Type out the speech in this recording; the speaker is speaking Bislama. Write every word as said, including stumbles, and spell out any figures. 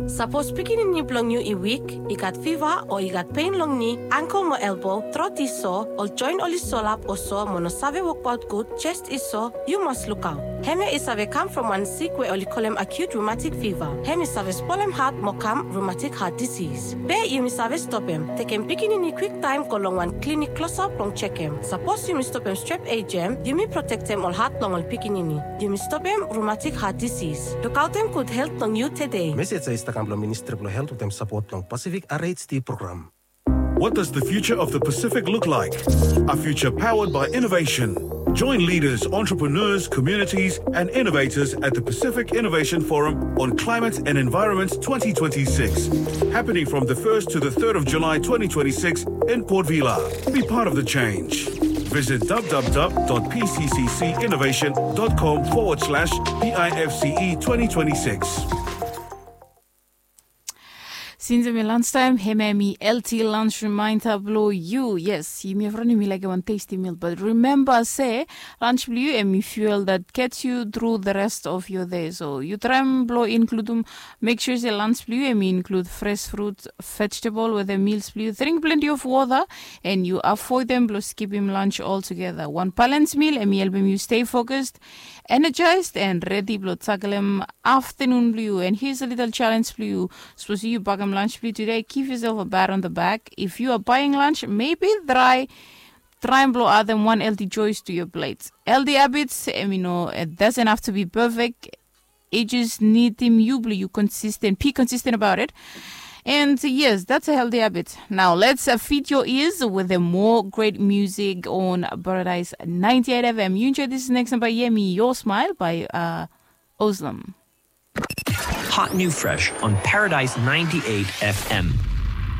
Sapos pikinini blong yu i wik, i gat fiva o i gat pen long ni, angkel mo elbo, trot i so, ol joen oli solap o so mo no save wokbaot gud, jes i so, yu mas lukaot. Hemia i save kam from wan sik we oli kolem acute rheumatic fever. Hem i save spolem hat mo kam rheumatic heart disease. Be yumi save stopem, tekem pikinini kwiktaem go long wan klinik klosap blong jekem. Sapos yumi stopem strep ejam, yumi protektem ol hat blong ol pikinini. Yumi stopem rheumatic heart disease. Lukaotem gud helt blong yu tede. Mesej ya i stap kam blong Ministri blong Helt wetem sapot blong Pacific R H D program. What does the future of the Pacific look like? A future powered by innovation. Join leaders, entrepreneurs, communities, and innovators at the Pacific Innovation Forum on Climate and Environment twenty twenty-six, happening from the first to the third of July twenty twenty-six in Port Vila. Be part of the change. Visit w w w dot p c c c innovation dot com forward slash p i f c e twenty twenty-six. Since em i lunch time, hemia em i L T lunch reminder blong yu. Yes, yumi evriwan yumi laik wan tasty meal, but remember se lunch blong yu em i fuel that gets you through the rest of your day. So yu traem blong include, make sure se lunch blong yu em i include fresh fruit, vegetable wetem meals blong yu. Drink plenty of water and yu avoidem blong skipim lunch altogether. Wan balance meal em i helpem yu stay focused, energized and ready blong taklem afternoon blong yu. And here's a little challenge blong yu. Sapos yu bakem lunch blong yu today, give yourself a pat on the back. If you are buying lunch, maybe try traem blong adem wan healthy choice to your plate. Healthy habits, em i no, it doesn't have to be perfect. It just nidim yu blong yu consistent, be consistent about it. And yes, that's a healthy habit. Now let's uh, feed your ears with a more great music on Paradise ninety-eight F M. You enjoy this next number, Yemi, Your Smile by uh, Ozlem. Hot new fresh on Paradise ninety-eight F M.